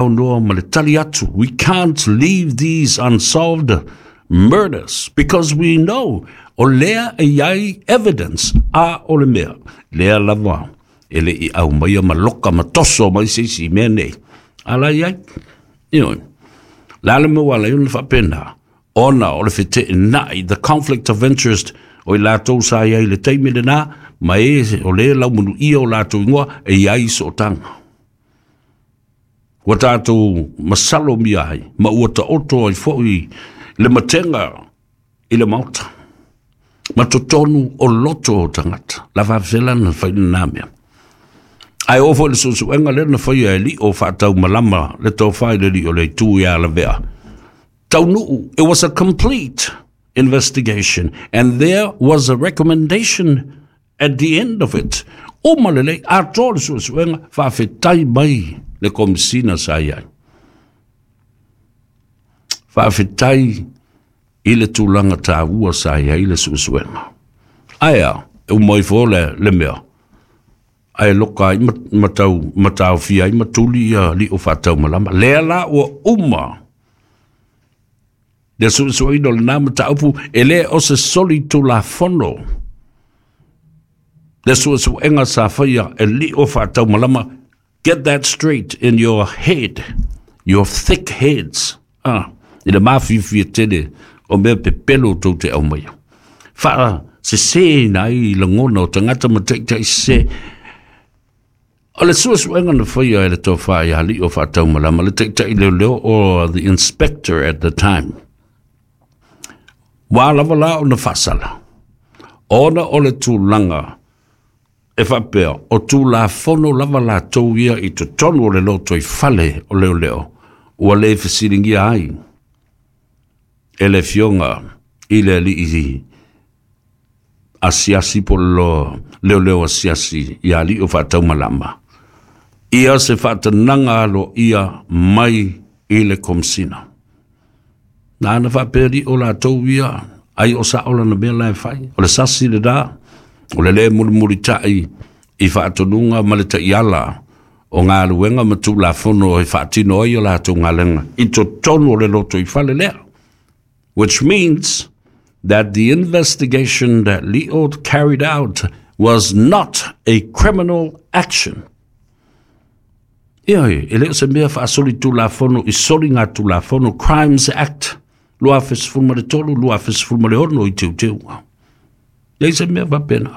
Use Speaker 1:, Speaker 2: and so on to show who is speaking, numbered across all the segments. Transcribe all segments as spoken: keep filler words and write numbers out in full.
Speaker 1: Saunoa ma le tali atu, we can't leave these unsolved murders because we know o lea e iai evidence a o le mea lea lava e le i au maia ma loka ma toso mai se isi mea nei ala iai. Ioe, le a le mea ua ala ai ona faapena? Ona o le feteenai, the conflict of interest, o i latou sa iai i le taimi lena ma e o lea laumanuia o latou igoa e iai sootaga ua tatou masalomia ai ma ua taoto ai foi le matega i le Maota ma totonu o loto o tagata. La faafefea na fai lena mea? Ae oo foi le suesuega lea na faia e Lio Faataumalama le tofa i le alii o le Itu ia Lavea taunuu, it was a complete investigation and there was a recommendation at the end of it. Uma lelei, atoa le suesuega, faafetai mai le Komisina sa i ai. Faafetai i le tulaga taua sa i ai le suesuega. Ae a, e uma ifo le, le mea, ae loka ai ma tau, ma taofia ai ma tuli ia Lio Faataumalama. Lea la ua uma le suesueina o lena mataupu, e le o se soli tulafono le suesuega sa faia e Lio Faataumalama. Get that straight in your head, your thick heads. Ah, i le mafiafia tele o mea pepelo tou te aumaia. Faasesēina ai lagona o tagata ma taitai sesē. O le suesuega na faia e le tofa ia Lio Faataumalama, le taitai leoleo or the inspector at the time, ua lava la ona faasala, ona o le tulaga e faapea o Tulafono lava latou ia i totonu o le lotoifale o leoleo ua le fesiligia ai e le Afioga i le alii asiasi po o leoleo asiasi ia Lio Faataumalama ia se faatanaga aloaia mai i le Komisina. Na ana faapea Lio latou ia ai o sao lana mea la e fai. O le sasi lena, o le le mulimulitai i faatonuga ma le taiala o galuega ma Tulafono e faatino ai o latou galuega i totonu o le lotoifale lea. Which means that the investigation that Lio carried out was not a criminal action. Ioe, e le o se mea faasoli Tulafono i soli ngā Tulafono Crimes Act lua afe sefulu ma le tolu, lua afe sefulu ma le ono i teuteuga. Leai se mea faapena.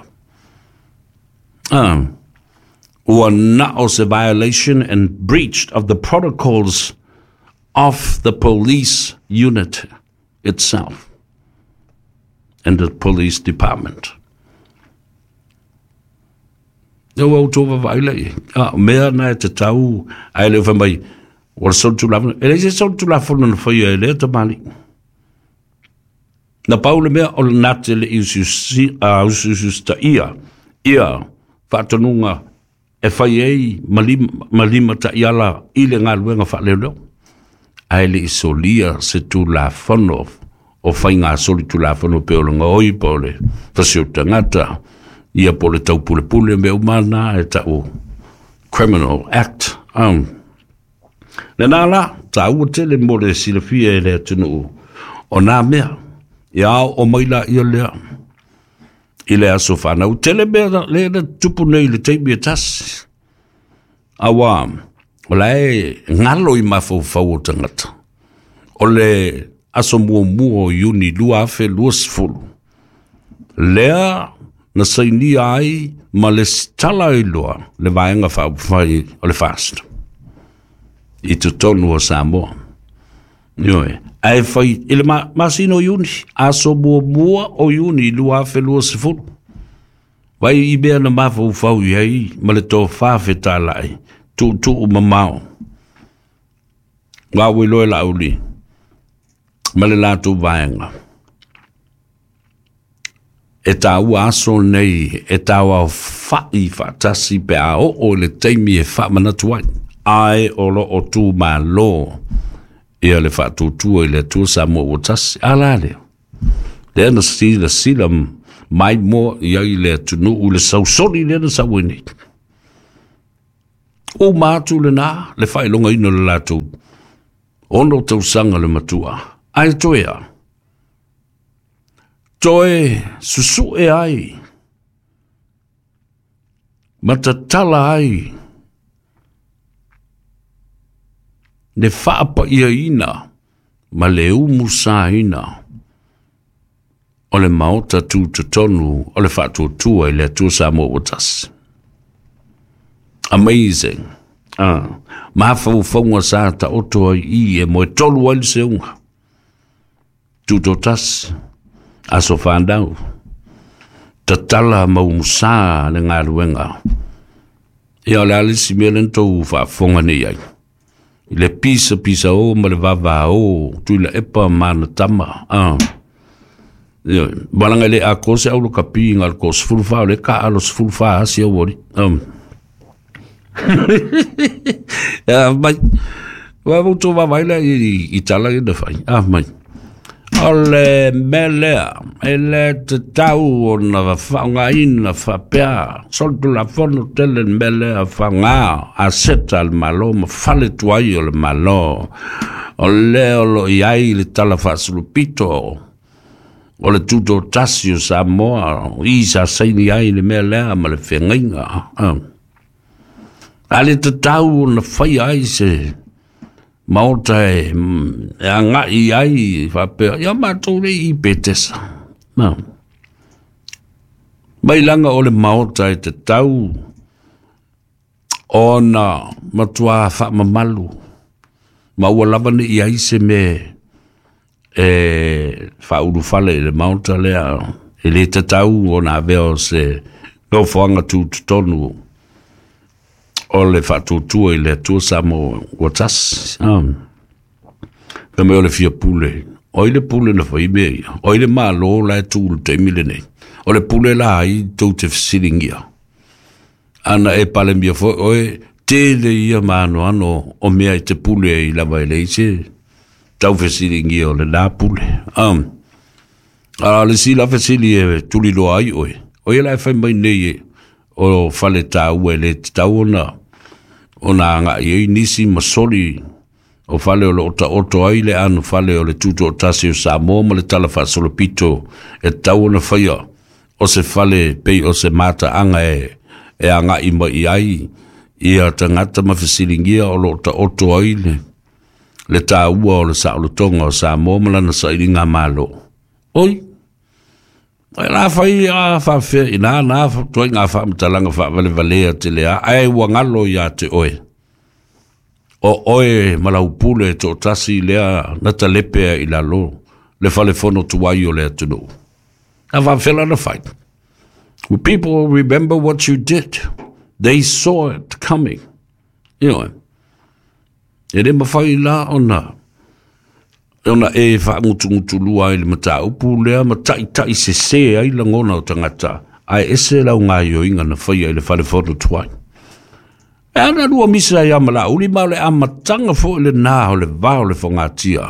Speaker 1: Ah, ua na o se violation and breach of the protocols of the police unit itself and the police department. Ua outou vaavaai la i ai. Ah, mea na e tatau ae le o fai mai ua le solitulafono. E leai se solitulafono na faia e lea tamalii. Na pau le mea o le nate le i usiusiusitaia ia faatonuga e fai ai ma lima, ma lima taiala i le galuega faaleoleo. Ae le i solia se Tulafono o faiga solitulafono pe o le gaoi po o le fasi o tagata ia po o le taupulepule mea uma na e tau Criminal Act. Um, lena la, taua tele mo le silafia e le atunuu o nā mea. Ia o mai la ia lea i le aso whanau. Tele mea le na tupu nei le taimi e tasi. Aua, o la e ngalo i mafaufau o tagata. O le aso muamua o Iuni lua afe luasefulu, lea na sainia ai ma le tala ai loa le Vaega Faaupufai o le FAST i totonu o Samoa. Ioe, ae fai i le masina o Iuni, aso muamua o Iuni lua afe luasefulu. Vai i mea na mafaufau i ai ma le tofa fetalai, tuutuu mamao. Ua ua iloa e Laauli ma le latou vaega. E taua aso nei e tauaofa'i faatasi pe a oo i le taimi e faamanatu ai, ae o lo o tumalo ia le faatuatua i le Atua Samoa ua tasi. A la lea? Lea na silasila mai moa i ai le atunuu i le sausoli lea na sau ai nei. Uma atu lena le faailogaina o le latou ono tausaga le matua ae toe a toe susu'e ai ma tatala ai le faapa'iaina ma le umusaina o le maota tutotonu o le faatuatua i le Atua Samoa ua tasi. Amazing. Ah, mafaufauga sa taoto ai i e moe tolu ai le seuga. Tutotasi, aso whanau, tatala maumusa le galuega. Ia o le alisi mea lena tou faafofoga nei ai. I le pisa pisa o ma le vava o, tui la epa mana tama. Ah. Ia, balanga le a ko se au lo kapi ngal ko sefulu fa o le ka alo sefulu fa asi au ori. Um. Ya mai. Wa mo to va vai la i i tala i na fai. Ah mai. O le mea lea, e le tatau ona faaaogaina faapea solitulafono tele le mea lea faaaoga aseta a le Malo ma fale tuai o le Malo. O lea o lo i ai le tala faasolopito o le tutotasi o Samoa i sa saini ai le mea lea ma le fegaiga. A le tatau ona faia ai se maota e, e agai ai faapea ia matou le i Petesa. No. Mai laga o le maota e tatau ona matuā faamamalu ma ua lava nei ai se mea e faaulufale i le maota lea e lē tatau ona avea o se nofoaga tutotonu o le faatuatua i le Atua Samoa ua tasi. Um. Ka mea o le fia pule. O i le pule na fai mea ia. O i le malo la e tu le taimi lenei. O le pule la ai tou te fesiligia. Ana e pale mia foi oe tele ia maano ano o mea i te pule i lava e leai se tau fesiligia o le la pule. Um. A le si la fesili e tuliloa ai oe. O ia la e fai mai nei e o fale tāua e le tatau ona ona aga'i ai nisi ma soli o fale o loo taoto ai le ano fale o le tutoatasi o Samoa ma le tala faasolopito e tatau ona faia o se fale pei o se mataaga e e aga'i mai ai ia tagata ma fesiligia o loo taoto ai le le tāua o le saolotoga o Samoa ma lana sailiga malo. Oi, ai la fai a faafea ina na toaiga faamatalaga faavalevalea tele a ae ua galo iā te oe. O oe ma lau pule toatasi lea na talepea i lalo le falefono tuai o le atunuu. A faafea la na fai. People remember what you did. They saw it coming. You know, e le mafai la ona ona e faagutugutulua ai le mataupu lea ma taʻitaʻi sesē ai lagona o tagata ae ese lau gaioiga na faia i le falefono tuai. E ana lua misa ia ma lauli ma o le amataga foʻi lenā o le vā o le fogatia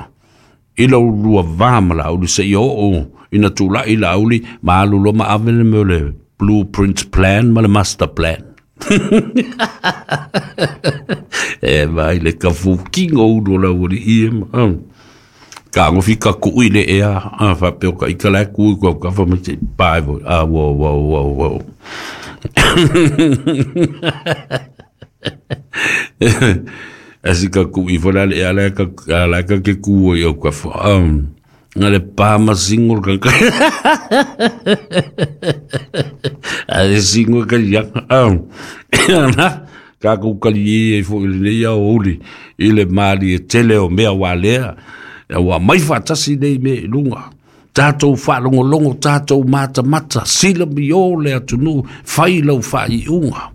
Speaker 1: i lou lua vā ma lauli seia oo ina tulaʻi lauli ma alu loa ma ave le mea o le blueprint plan ma le master plan. E mai le kafukiga o ulu o laualii e ma. Ka ngofi ka kui le ea a faapea o ka ika la kui ko ka fa mai te pae voi. Ah, wow, wow, wow, wow. Asi ka kui fo la le ea la ka la ka ke ku i au ka fa. Um, nga le pa ma singo ka ka. A le singo ka ia. Um, na ka ku kali e fo i le ia o uli i le mali e tele o mea wa lea. Ua mai faatasi nei mea i luga. Tātou faalogologo, tātou matamata, sila mi o le atunuu, fai lau faaiuga.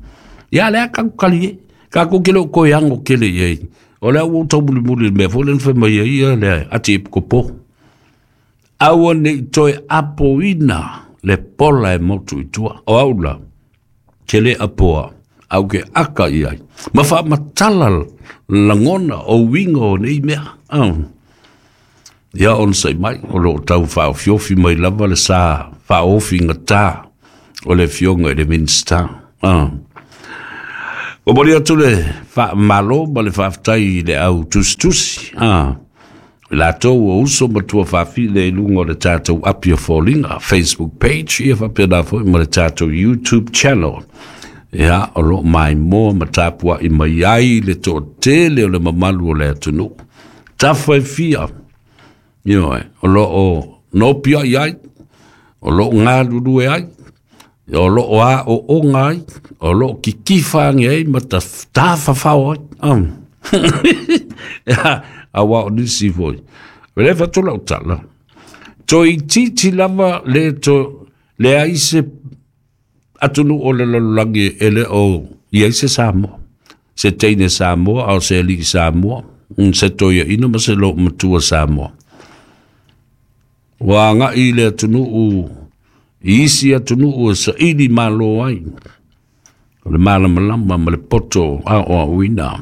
Speaker 1: Ia lea kaku kali e. Kaku ke leo koe ango kele i ai. O lea ua taumulimuli le mea foi lea na fai mai ai ia le ati e pikopo. Aua nei toe apoina le pola e motu i tua. O au la, ke le apoa, au ke aka i ai. Ma faamatala lagona o uiga o nei mea. Um. Ia ona sai mai, o loo tau faaofiofi mai lava le sa faaofi gatā o le afioga i le Minista. Ah. Momoli atu le faamalo ma le faafetai i le au tusitusi, a latou o uso ma tuafafine i luga o le tatou api o foliga Facebook page, ia faapena foi ma le tatou YouTube channel. Ia, o loo maimoa ma tapua'i mai ai le toatele o le mamalu o le atunuu tafa e fia. Ioe, o loo nopia'i ai, o loo galulue ai, o loo aooga ai, o loo kikifa age ai ma tafafao ai. um. Auā o nisi foi le fatu lau tala toeititi lava le to leai se atunuu o le lalolagi e le o i ai se Samoa, se teine Samoa, a o se alii Samoa, se toeaina ma se loomatua Samoa. Ua agai le atunuu i isi atunuu e saili malo ai o le malamalama ma le poto aoaoina.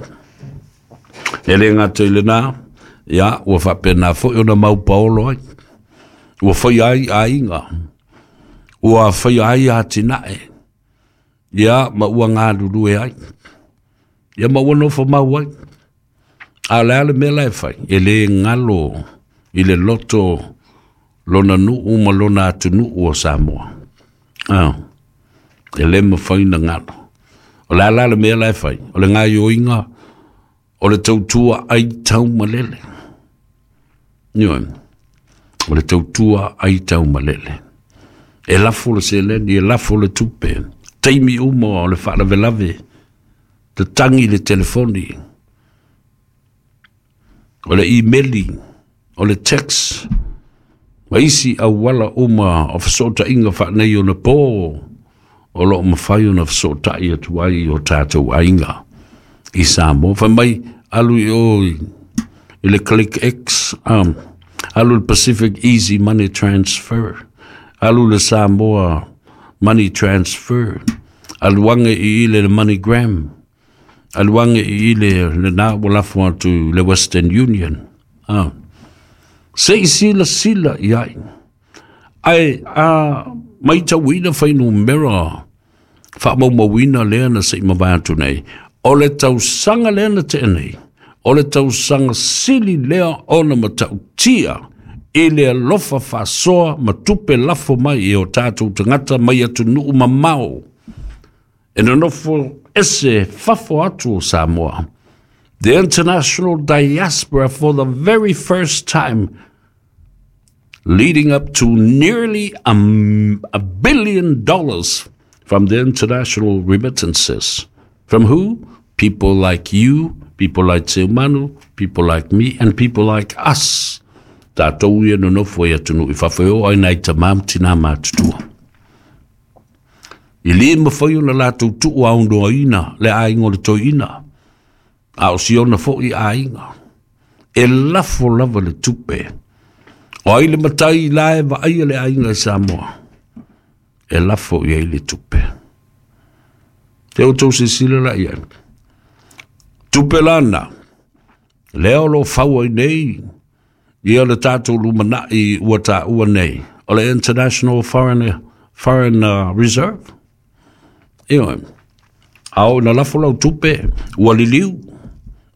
Speaker 1: E le gata i lenā, ia ua faapena foi ona maupaolo ai, ua faia ai aiga, ua faia ai atinae, ia ma ua galulue ai, ia ma ua nofo mau ai. A o le a le mea la e fai? E lē galo i le loto lona nuu ma lona atunuu o Samoa. Ah, e lē mafai na galo. O le a la le mea la e fai? O le gaioiga o le tautua ai taumalele. Ioe, o le tautua ai taumalele. E lafo le seleni, e lafo le tupe, taimi uma o le faalavelave, tatagi le telefoni, o le imeli, o le text, ma isi auala uma o fesootaiga faanei ona pō o loo mafai ona fesootai atu ai o tatou aiga i Samoa. Fai mai alu i o i le Click X, um, alu le Pacific Easy Money Transfer, alu le Samoa Money Transfer, alu age i ile le MoneyGram, alu age i ile lenā ua lafo atu le Western Union. Ah. Se i silasila i ai. Ae a maitauina fuainumera faamaumauina lea na se i mavae atu nei, o le tausaga lea na tea nei, o le tausaga sili lea ona matautia i le alofa faasoa ma tupe lafo mai e o tatou tagata mai atunuu mamao e nonofo ese fafo atu o Samoa. The international diaspora, for the very first time, leading up to nearly a, a billion dollars from the international remittances. From who? People like you, people like Seumanu, people like me, and people like us. Tatou ia nonofo i atunuu i fafo e oo ai nai tamā ma tinā matutua. I lē mafai ona latou tuu aunoaina le aiga o le toeaina, a o siona foʻi aiga. E lafo lava le tupe. O ai le matai la e vaaia le aiga i Samoa? E lafo i ai le tupe. Te outou silasila la i ai. Tupe lana, lea o lo fau ai nei, ia le tatou lumanai ua taua nei, o le International Foreign, Foreign uh, Reserve. Ioe, a oo ina lafo lau tupe, ua liliu,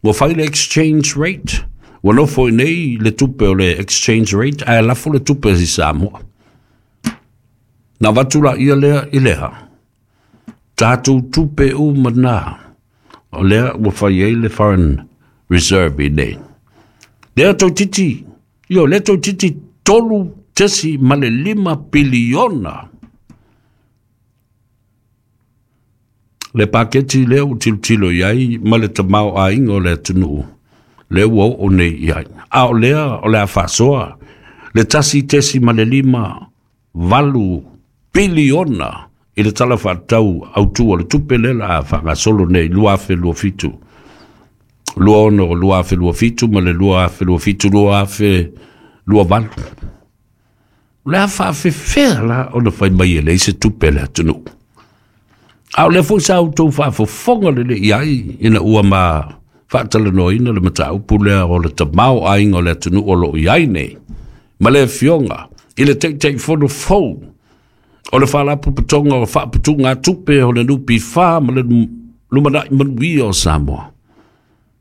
Speaker 1: ua fai le exchange rate, ua nofo i nei le tupe o le exchange rate, ae lafo le tupe i Samoa. Na avatu laia lea i leha, tatou tupe uma na, o lea ua fai ai le Foreign Reserve i nei. Lea toeititi, io, lea toeititi tolu tesi ma le lima piliona. Le paketi lea ua tilotilo i ai ma le tamaoaiga o le atunuu, lea ua oo nei i ai. A o lea o le a faasoa le tasi tesi ma le lima valu piliona i le tala faatatau autū o le tupe lea la a faagasolo nei lua afe lua fitu, lua ono lua afe lua fitu ma le lua afe lua fitu lua afe lua valu. O le a faafefea la ona fai mai e leai se tupe a le atunuu. A o lea foi sa outou faafofoga lelei i ai ina ua ma faatalanoaina le mataupu lea o le tamaoaiga o le atunuu o loo i ai nei ma le afioga i le Taitaifono fou o le Faalapotopotoga o Faaputugatupe o le N P F ma le Lumanaʻi manuia o Samoa.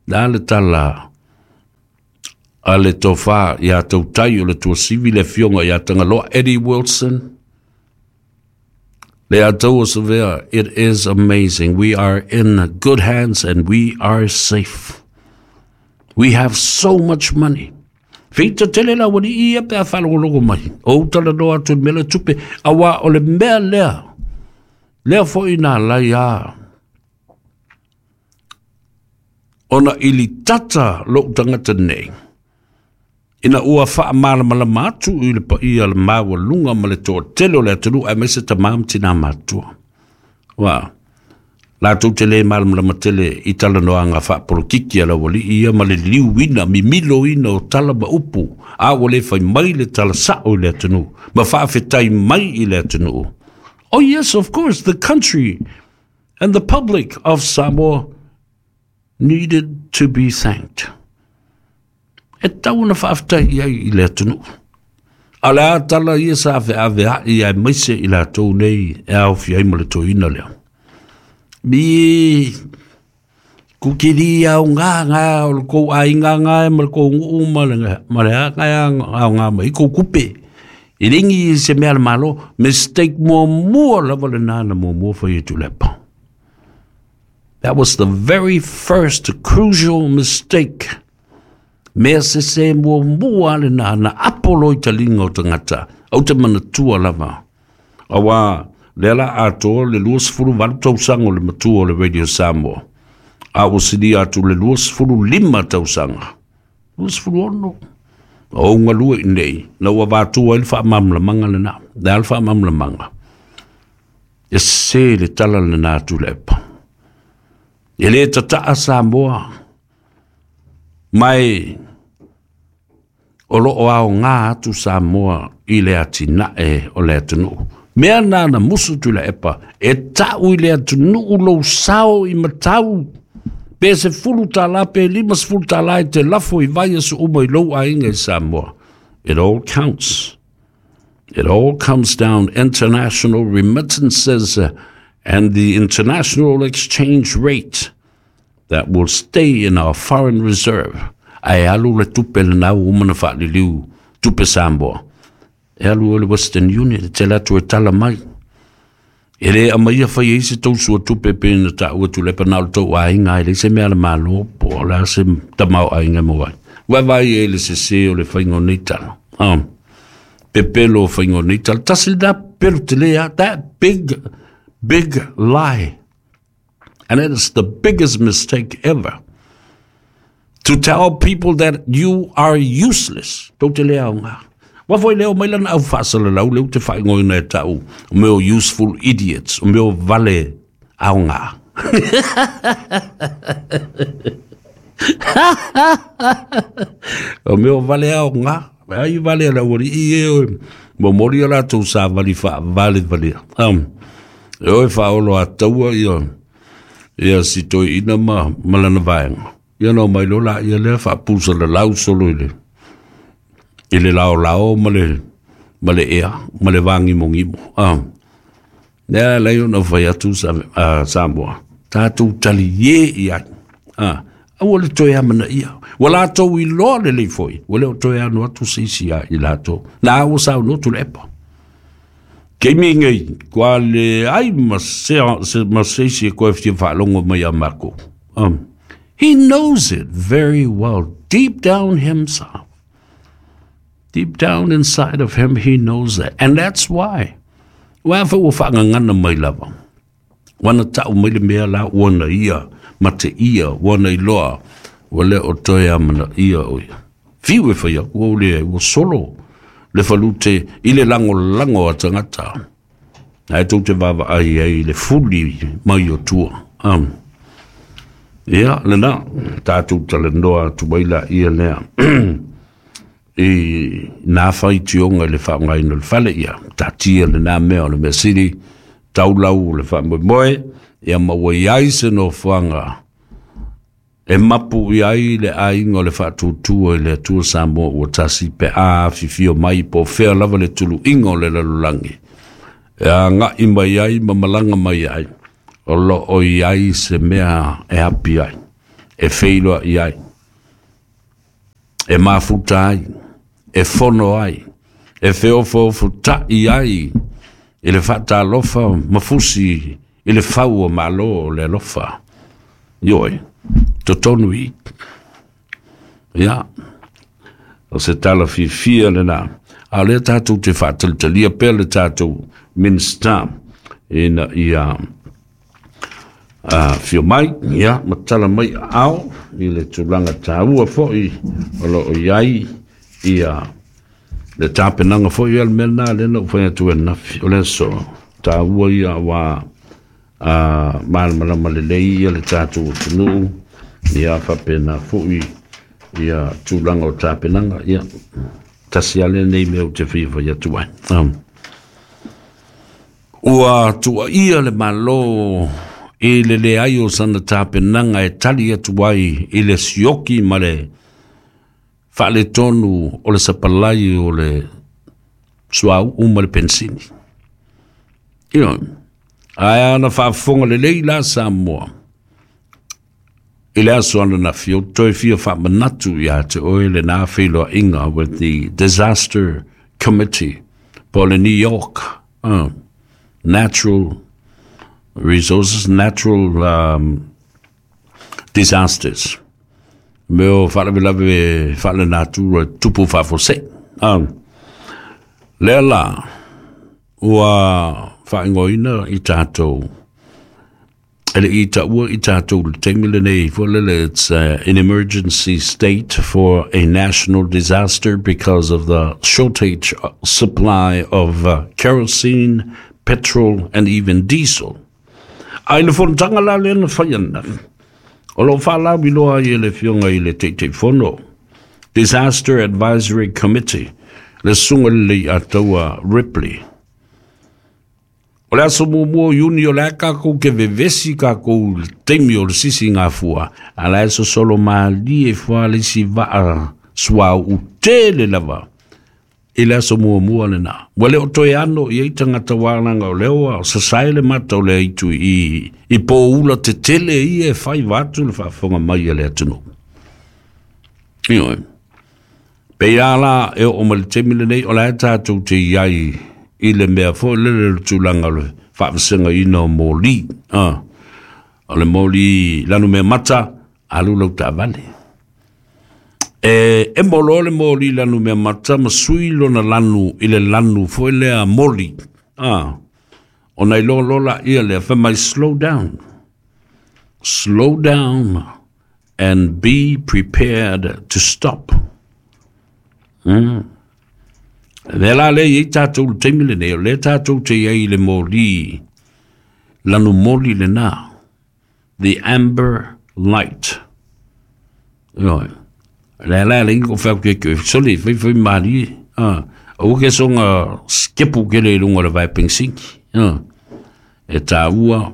Speaker 1: Le a le tala a le tofā iā tautai o le tuasivi le afioga iā Tagaloa Eddie Wilson. Le Atua Savea, it is amazing. We are in good hands and we are safe. We have so much money. Feita tele la wani ia pe a whalogologo mai. O utala no atu mele tupe. Awa o le mea lea. Lea foi nā lai a. Ona ili tata lo utangata nei. Ina ua wha malamalama atu i le paia le maua lunga ma le toa tele o le atunu a mese ta mam tina matua. Wa, lātou te le malamalama tele i tala noanga whaapolokiki a la wali ia ma le liuina, mimilo ina o tala ma upu. A ua le whai mai le tala sao i le atunu, ma whaafetai mai i le atunu. Oh yes, of course, the country and the public of Samoa needed to be thanked. E tau na whaaftai ai i le atunu. A le atala ia sa ave ave a ia e maise i la tau nei e au fiai ma le toina lea. Mi kukiri au ngā ngā o le kou ai ngā ngā e ma le kou nguu ma le ma le a ngā au ngā ma i kou kupe. I ringi i se mea le malo, mistake mua mua lava le nana mua mua whai e tulepa. That was the very first crucial mistake. Mea se se mua mua le nā na apolo i talinga o tangata, au te manatua lava. Awa, lea la atoa le luasefulu valu tausaga o le matua o le Radio Samoa. A ua silia atu le luasefulu lima tausaga. Luasefulu ono. O galue i nei, na ua vatua ai le faamalamalamaga lenā. Le a le faamalamalamaga. E se le tala lenā Tuilaepa. E le tataa Samoa. Mai o loo ao ngā atu Samoa i le atinae o le atunuu. Mea nā na musu Tuilaepa, e tau i le atunuu lou sao i matau. Pe se fulu tālā, pe lima se fulu tālā e te lafo i vai aso uma i lou aiga i Samoa. It all counts. It all comes down. International remittances and the international exchange rate that will stay in our foreign reserve. Ae alu le tupe le nau umana whaaliliu, tupe Samoa. E alu o le Western Union, te latu e tala mai. E le amaia whai e se tausua tupe pena ta ua Tuilaepa na o le tau aiga e le se mea le malo po o le se tamau aiga mo ai. Wawai e le se se o le whaingo nei tala. Um, pepelo o whaingo nei tala. Tasi da pelo te lea, that big, big lie. And it is the biggest mistake ever. To tell people that you are useless. Tau te lea o ngā. Wa foi leo mai lana au whaasala lau leo te whaingoina e tau. O meo useful idiots. O meo vale au ngā. O meo vale au ngā. Ai vale la wari i e oe. Mo mori a rātou sa vali wha vale vale. Um, e oe whaolo a taua ia. Ia si toi ina ma malana vaenga. Ia no mai lola ia lea whaapusa le lau solo i le. I le lao lao ma le, ma le ea, ma le vāngimo ngimo. Ah. Nea lei ona whai atu sa, uh, Samoa. Tātou tali ye i ai. Ah. Aua le toe amana ia. Ua lātou i loa le lei foi. Ua leo toe anu atu seisi a i lātou. Nā ua sao no Tuilaepa. Kei mi ngei, kua le ai ma se, se, ma seisi e koe whitia whaalongo mai a mako. Um, he knows it very well, deep down himself. Deep down inside of him, he knows that. And that's why. Wa fa ua whaangangana mai lava. Wana tau mai le mea la wana ia, ma te ia, wana i loa, ua le o toe amana ia o ia. Fiu e whai aku au le, ua solo le falute i le lango lango a tangata. Ai tau te wawa ai ai le fuli mai o tua. Um, ia, le nā, tātou talenoa atu mai la ia lea. I nā whai tionga le whaangaina le whale ia. Tātia le nā mea o le mea siri, taulau le whaamoemoe, ia maua iai se no whanga. E mapu i ai le ainga o le whaatutua i le Atua Samoa ua tasi pe a whiwhio mai po whea lava le tulu inga o le lalulangi. E a ngai mai ai ma malanga mai ai. O loo i ai se mea e hapi ai, e feiloa i ai, e mafuta ai, e fono ai, e feofoofuta'i ai i le faatalofa mafusi i le fau o malo o le alofa. Ioe, totonu i. Ia, o se tala fiafia lenā. A o lea tatou te faatalitalia pea le tatou Minisita ina ia uh, fio mai, ia, ma tala mai ao i le tulaga taua fo'i o loo i ai ia le tapenaga fo'i a le mea lena lea na ou fai atu ananafi o le aso taua ia ua uh, malamalama lelei ia le tatou atunuu ia faapena fo'i ia tulaga o tapenaga ia tasi ale nei mea ou te fia fai atu ai. Um, ua tuuaia le Malo i le leai o sana tapenaga e tali atu ai i le sioki ma le faaletonu o le sapalai o le suauu ma le pensini. Ioe, ae ana faafofoga lelei la Samoa i le aso ananafi, o toe fia faamanatu iā te oe lenā feiloaiga with the Disaster Committee po le New York uh, Natural Resources, Natural um, Disasters, mea o faalavelave faalenatura tupu faafuasei. Um, lea la ua faaigoaina i tatou e le i taua i tatou le taimi lenei foi lele, it's uh, an emergency state for a national disaster because of the shortage supply of uh, kerosene, petrol and even diesel. A i le fonotaga la lea na fai ananafi o loo faalauiloa ai e le Afioga i le Taitaifono Disaster Advisory Committee, le Susuga le Leiataua Ripley, o le aso muamua o Iuni o le a kakou ke vevesi kakou le taimi o le sisi gafua a la e sosolo malie fua le isi vaa suauu tele lava i le aso muamua lenā ua le o toe ano i ai tagata walaga o lea ua sasae le mata o le aitu i, i poula tetele ia e fai vatu le faafofoga mai a le atunuu. Ioe. Pei la e oo mai le taimi lenei o la e tatou te i ai i le mea foi lele le tulaga o le faavasegaina o moli. Ah. O le moli lanu mea mata, alu lau taavale. E, e molo le moli lanu mea mata ma sui lona lanu i le lanu foi lea moli. Ah. Ona i loa lola ia lea fai mai, slow down. Slow down and be prepared to stop. Mm. Le la le i tatou le taimi lenei, o le tatou te iai le moli, lanu moli lenā, the amber light. Ioe. Le la le ingo whau ke ke, soli, fai fai mari, ah, o ke songa skepu ke le lunga le vai pensinki. Ah. E tāua,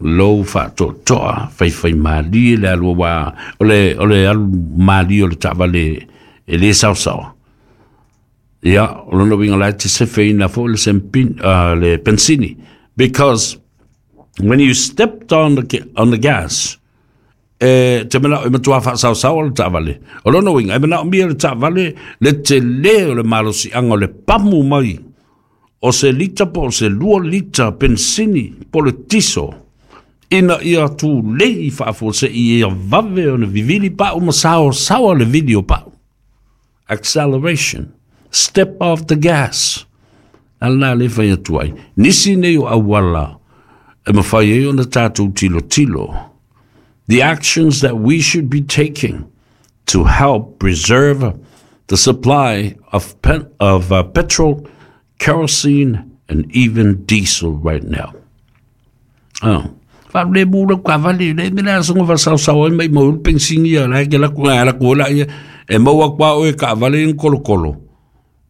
Speaker 1: lou faatoatoa, fai fai mali le alua wā, o le, o le alu mali o le taavale e le saosaoa. Ia, o lona uiga la e te sefeina foi le sempin, uh, le pensini. Because when you stepped on the, on the gas, e te manao e matua faasaosaoa le taavale. O lona uiga, e manaomia le taavale le telē o le malosiaga o le pamu mai o se lita po o se lua lita pensini po le tiso ina ia tulei faafuase'i ia vave ona vivili pa'u ma saosaoa le vili o pa'u. Acceleration. Step off the gas. Ala le fai atu ai. Nisi nei o auala e mafai ai ona tatou tilotilo. The actions that we should be taking to help preserve the supply of, pen, of uh, petrol, kerosene, and even diesel right now. Oh. Fa le mu le ka vale le me la songo va sa sa o mai mo pensingi ya la ke la ku la ku la e mau kwa o e ka vale in kolo kolo.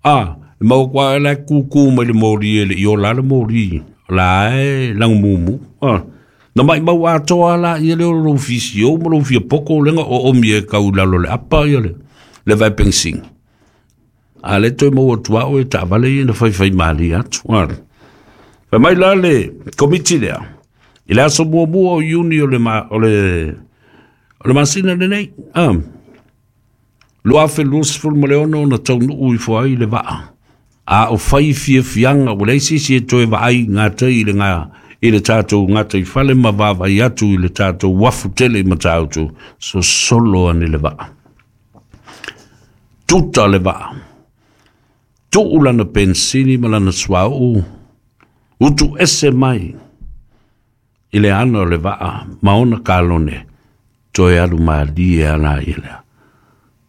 Speaker 1: Ah, e mau kwa la ku ku mai le mori e le i o la le mori la e lang mumu. Ah. Na mai mau atoa la ia le o lo fisi o mo lo fia poko lenga o o mi e kau lalo le apa ia le le vai pensingi. A le toe mau atua o e taavale ia na faifai mali atu. Ah. Fai mai la le komiti lea. I le aso muamua o Iuni o le ma, o le o le masina lenei. Ah. Lua afe lua sefulu ma le ono na taunuu ifo ai le vaa. A o fai fiafiaga ua leai se isi e toe vaai gatai i le ga i le tatou gataifale ma vaavaai atu i le tatou uafu tele i Matautu, sosolo ane le vaa. Tuta le vaa. Tuu lana pensini ma lana suauu, utu ese mai i le ana o le vaa ma ona kalone, toe alu malie ala i lea.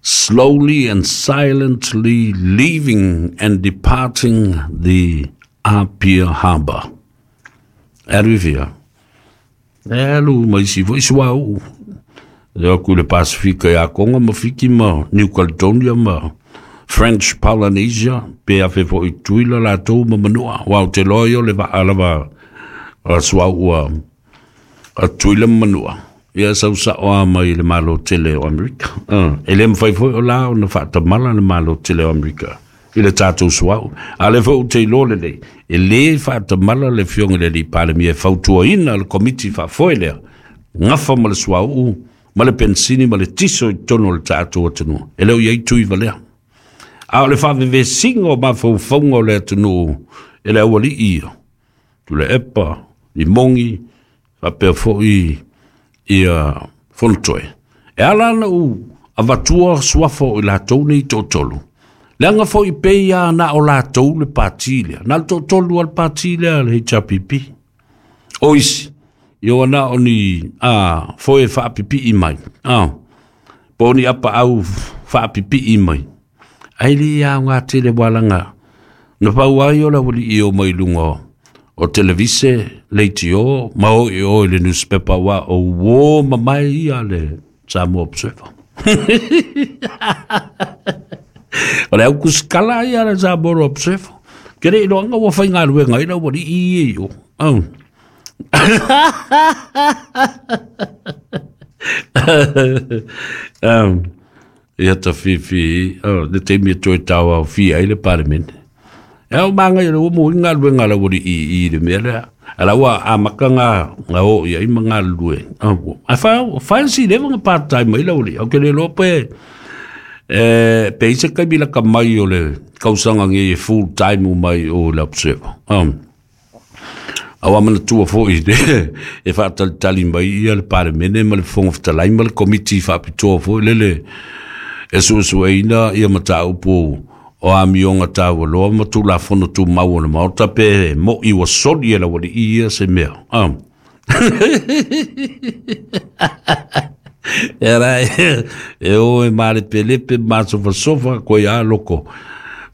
Speaker 1: Slowly and silently leaving and departing the Apia Harbour. E alu i fia. E alu mai si foi suauu. E aku le Pasifika ia Konga ma Fiki ma New Caledonia ma French Polynesia, pe afe foi Tuila latou ma Manua. Wa o te loa ia o le vaa lava a suauu a, a Tuila ma Manua. Ia sau sao a mai le Malo tele o Amerika. Uh, e le mawhai foi o la o na whaatamala le Malo tele o Amerika i le tātou suau. A le foi o te iloa lelei, e le whaatamala le fionga le li Palemia e fautuaina le komiti whaafoe lea. Ngafa ma le suau, ma le pensini, ma le tiso i tono o le tātou atunuu. E leo iai tui valea. A o le whaavevesiga o mafaufauga o le atunuu e le aualii ia. Tuilaepa, Limogi, faapea foi ia Fonotoe. E ala ana u avatua suafa o i latou nei toatolu. Leaga foi pei a na o latou le pati lea. Na le toatolu a le pati lea le H R P P. O isi, ia ua na o ni a, foe faapipii mai. A, po o ni apaau faapipii mai. Ai le ia ngā tele walanga. Na pau ai o la wali i o mai lunga o televise, leitio, ma o i o i le newspaper wa o wo mamae ia le Samoa Observer. O le au kuskala ia le Samoa Observer. Kere ilo anga ua whai ngā ruenga ila wali i e o. Oh. um, ia ta whiwhi, oh, le te mea toe tau au whia i le parliament. E au maanga i le umu i ngā ruenga la wali i i le mea lea. Ala ua a maka ngā, ngā o ia i ma ngā lue. Oh, a whai, whai si lewa ngā part-time mai la wali. Au ke le loa pe, e, pe ise kai mila ka mai o le kausanga nge full-time o mai o le Observer. Um, Au amana tua foi e whaatalitali mai ia le paremene ma le whonga whatalai ma le komiti whaapitoa foi lele e suesueina ia mataupu o amionga tāua loa ma tulafono tumau o le maota pe mo i ua soli e la wali ia se mea. Um. E rai, e o e mare pelepe masofasofa koe a loko.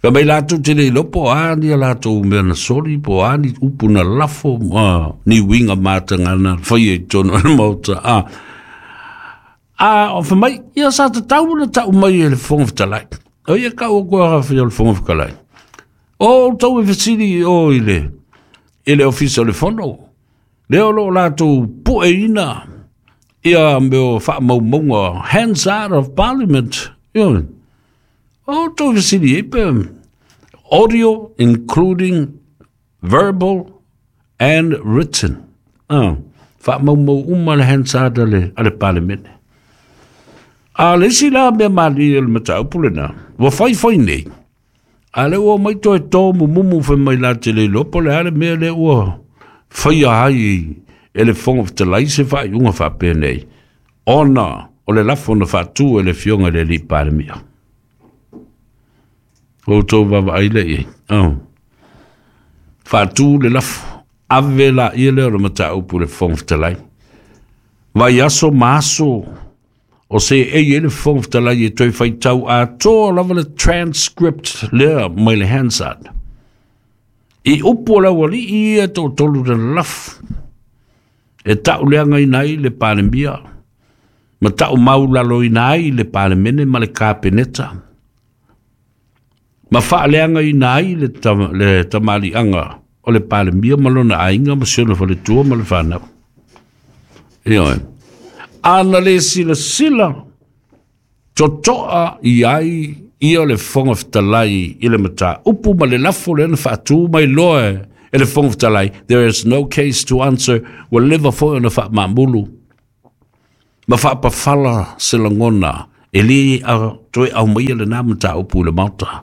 Speaker 1: Ka mai lātou te lei lopo a ni a lātou mea na soli po a ni upu na lafo a, ni winga mātanga na whai e tono na maota. A, a o whamai, ia sa te tau na tau mai e le whonga whatalai. O ia kau o koe a whia le whonga whakalai. O tau e whasiri o i le, i le ofisa o le whono. Leo lo lātou poe ina ia meo whaamaumaunga hands out of parliament. Ia, o tau whasiri e pe audio including verbal and written. Ah, whaamaumau uma le hands out a le, a le parliament. A le isi la mea mali e le mataupu lena, ua whai whai nei. A le ua mai toe tō mumumu whai mai la te le lopo le ale mea le ua whai a hai e le whonga whatalai se whai unga whapea nei. Ona o le lafo na whātū e le fionga le li Palemia. O tō wawa ai le i. Oh. Whātū le lafo. Ave la ia le o le mataupu le whonga whatalai. Vai aso maaso o se e e le whonga whatalai e toi whaitau a tō lava le transcript lea mai le Hansard. I upu o lau ali i e tō tolu le lafo. E tau leanga ina ai le Palemia. Ma tau maulalo ina ai le Palemene ma le Kapeneta. Ma whaaleanga ina ai le, tam, le tamalianga o le Palemia ma lona ainga ma siona whaletua ma le whanau. Ioe. Ana le sila sila totoa i ai ia le whonga whatalai i le mata upu ma le lafo le ana whaatu mai loa E le Fofoga Fetalai, there is no case to answer, ua leva foi ona faamaamulu ma faapafala se lagona e lē toe aumaia lenā mataupu i le Maota.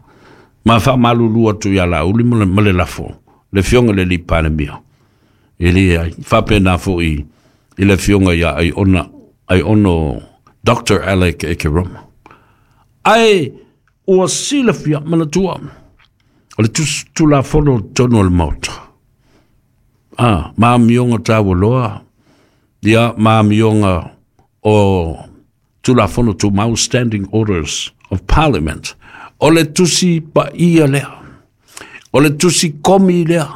Speaker 1: Ma faamalulu atu iā Laauli ma le lafo le Afioga le alii Palemia, e lē ai faapena foʻi i le Afioga iā Aiona Aiono Doctor Alec Ekeroma. Ae ua silafia manatua o le Tulafono totonu o le Maota a ma amioga taualoa ia ma amioga o Tulafono Tumau, Standing Orders of Parliament. O le Tusi Paia lea, o le tusi komi lea,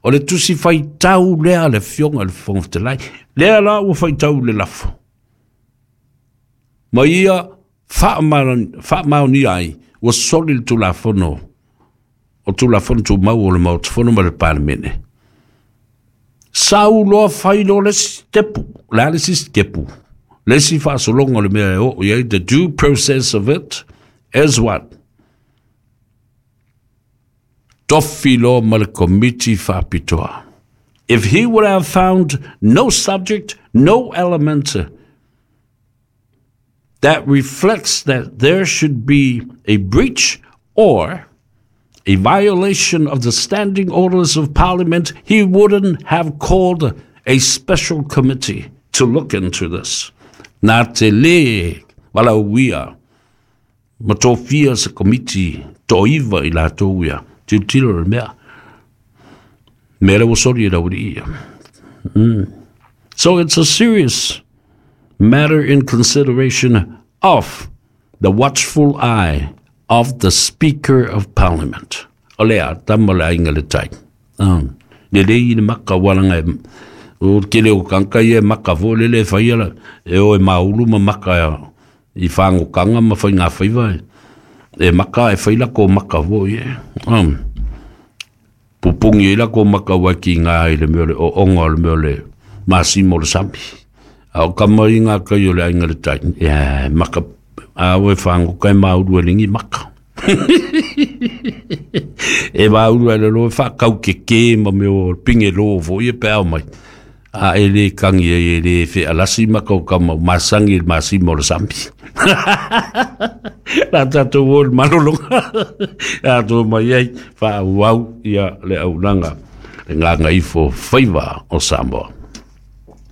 Speaker 1: o le tusi faitau lea le Afioga i le Fofoga Fetalai lea la ua faitau le lafo ma ia faamaonia ai ua soli le Tulafono o Tulafono Tumau o le Maota Fono ma le Palemene. Sau loa fai loa le isi tepu, le a le isi tepu, le isi faasologa o le mea e oo i ai, the due process of it is what? Tofi loa ma le komiti faapitoa. If he would have found no subject, no element that reflects that there should be a breach or a violation of the Standing Orders of Parliament, he wouldn't have called a special committee to look into this. Na te lē valaauia ma tofia se komiti toiva i latou ia tilotilo le mea mea lea ua soli e laualii ia. Mm. So it's a serious matter in consideration of the watchful eye of the Speaker of Parliament. O lea, tama le aiga le tai. Um, le lei le maka walanga e o kele o kanka ia maka fo le le whaia la e o e maulu ma maka i whangokanga ma whai ngā whaiva e, e maka e whai la ko maka fo ie. Um, pupungi i la ko maka wa ki ngā i le mea le o onga o le mea le masimo le sami. A o kama i ngā kai o le aiga le tai. Ia, maka a o e whangoka e maulu e lingi maka. E maulu e le lo e whakau ke ke ma me o pinge lo fo ia pe au mai. A e le kangi e e le whe alasi maka o kama masangi le masimo le sami. La tātou o le malolonga. A tō mai ai wha au ia le aunanga le ngā ngaifo whaiva o Samoa.